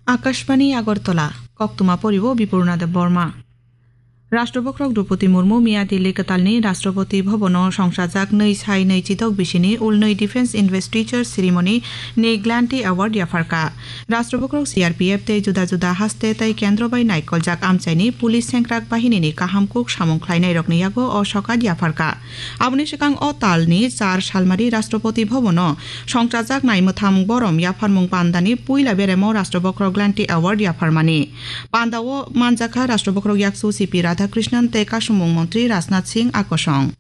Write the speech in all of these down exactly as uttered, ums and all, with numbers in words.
Akashbani Agartala, koktwma poribo Bipurna Debbarma. Rashtrapati Murmu miya Delhi kwtalni Rashtrapati Bhabono songchajak nwi sai nwi chitok bisini ulnwi Defence Investiture Ceremony ni Glanty Award yapharkha. Rashtrapati C R P F tei juda juda haste tei kendro bai naikoljak amchaini police sengkrak bahinini kaham kuk samung khlainairokni yago o sokat yapharkha. Aboni swkang o talni char salmari Rashtrapati Bhabono songchajak nai mwthang borom yapharmung pandani puila beremo Rashtra Bokhorok Glanty Award yapharmani. Pandao manjakha Rashtra Bokhorok Yaksu C P Radhakrishnan tei Kasumung Montri Rajnath Singh akosong.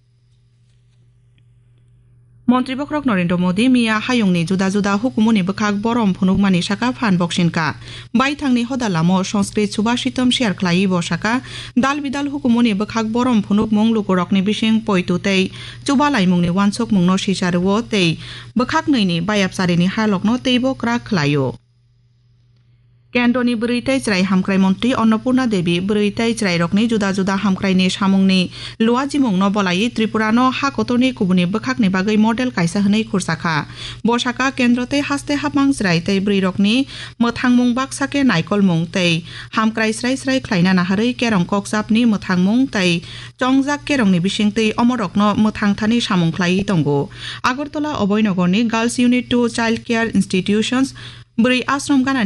Montri Bokhorok Narendra Modi miya hayungni juda juda hukumuni bwkhak borom phunukmani saka phan boksinka. Baithangni hoda lamo Sanskrit Subhashitam share khlaiwi bo saka, dal bidal hukumuni bwkhak borom phunukmung lukurokni bising poitu tei chubalaimungni wansukmungno sisa rwo tei bwkhak nwi ni bayapcharini halokno teibo kwrak khlaio. Kendroni bwrwi tei chwrai hamkrai montri Annapurna Devi bwrwi tei chwrairokni juda juda hamkraini samungni luajimungno bolaiwi Tripurano ha kotorni kubuni bwkhakni bagwi model kaisa hwnwi khursa kha. Bo saka kendro tei haste hapmang chwrai tei bwrwirokni mwthangmung baksa khe naikolmung tei hamkrai srai srai khlaina naharwi kerong kokchapni mwthangmung tei chongjak kerongni bisingtwi omorokno mwthang thani samung khlaiwi tongo. Agartala Abhoynagarni Girls Unit two Child Care Institutions bwrwi ashram ganani